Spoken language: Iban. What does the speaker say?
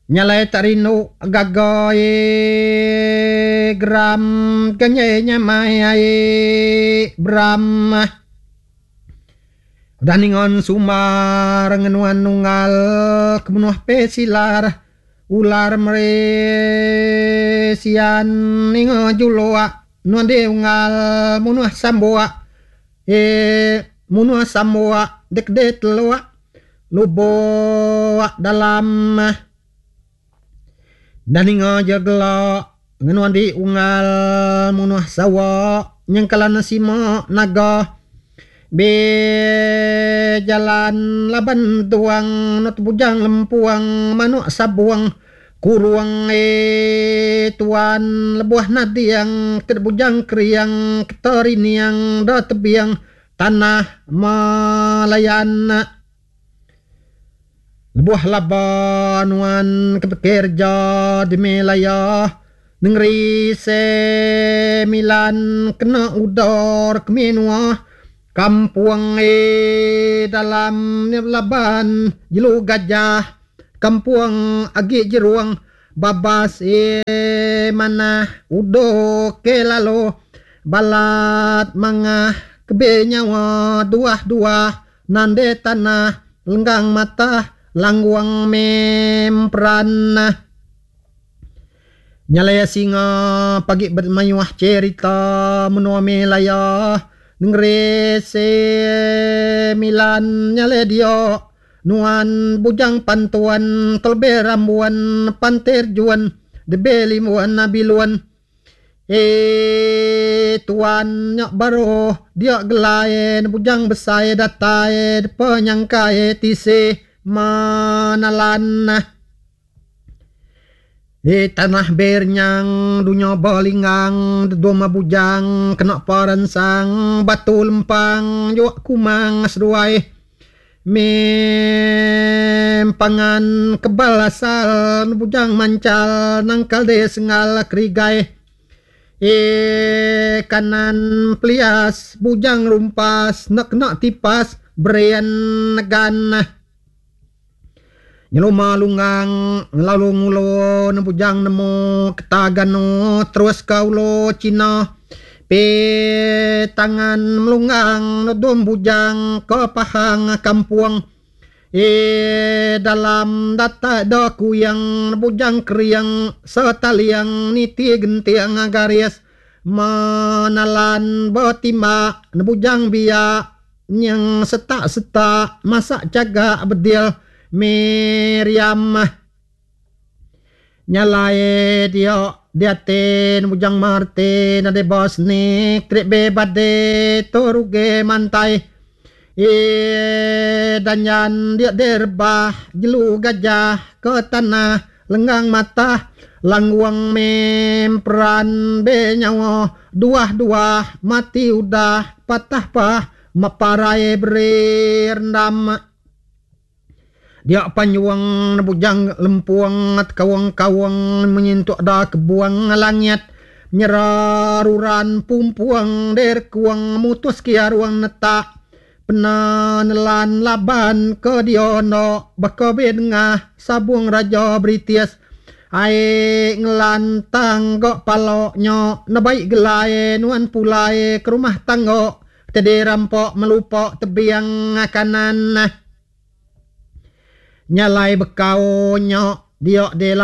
Nyalai tak rindu gaga ee geram ke nyai nyamai ai beram. Udah ningon sumbar ngenuan nunggal ke menuh pe silar ular meresian ninga juluk nuan di unggal munuh sambuk ee munuh sambuk dek de teluk. Lubok dalam enda ninga je gela ngenuan di unggal munuh sawa nyengkalan sima naga be jalan laban tuang eno tebujang lempuang manuk sabung kurung ee tuan lebuh nading ke bujang kering keta rining da tebing Tanah Malayan. Lebuh laba nuan ke bekerja di Melaya nengeri Semilan kena udor ke menua kampung e dalam laban jelu gajah kampung agi jerung babas e manah udo ke lalu Balat mangah kebe nyawa duah-duah nande tanah lenggang matah langgung memperan. Nyalai singa pagi bemayuh cherita menua Melaya nengeri Semilan nyalai dio nuan bujang pantuan kelebih rambuan pantir juan debe limbun bilun. Eii tuan nya baru dia gelai bujang besai datai depa nyangkai tisi menelan. Eii tanah berenyang dunya belinggang dedum bujang kena perensang batu lempang juak kumang seduai Mempangan kebal asal bujang manchal nangkal deh senggal kerigai ee kanan pelias bujang rumpas enda kena tipas berian negan. Nyeluma lunggang lalu ngulu ne bujang nemu keta ganu terus ka ulu cina pi tangan melunggang nudum bujang ke pahang kampung ee dalam datai da kuyang bujang kering setaliang niti genting garis menalan betimbak ne bujang biak. Nyeng setak-setak masak chagak bedil Miriam. Nyalai dia diatin bujang Martin nadai bos ni trip be bade tu rugi mantai. Ee danjan dia direbah jelu gajah ke tanah lenggang matah langgung memperan be nyawa duah-duah mati udah patah pah meparai beri rendam. Dia panyuang bujang lempung tekaung-kaung menyentuk da kebuang langit nyeraruran pumpung derkuang mutus kiaruang netak pena nelan laban ke diono baka bedengah sabung raja British ai ngelantang ga palo nya nebaik gelai nuan pulai ke rumah tangga tedi rampa melupa tebing kanan. Nya alai bekau nya dia di.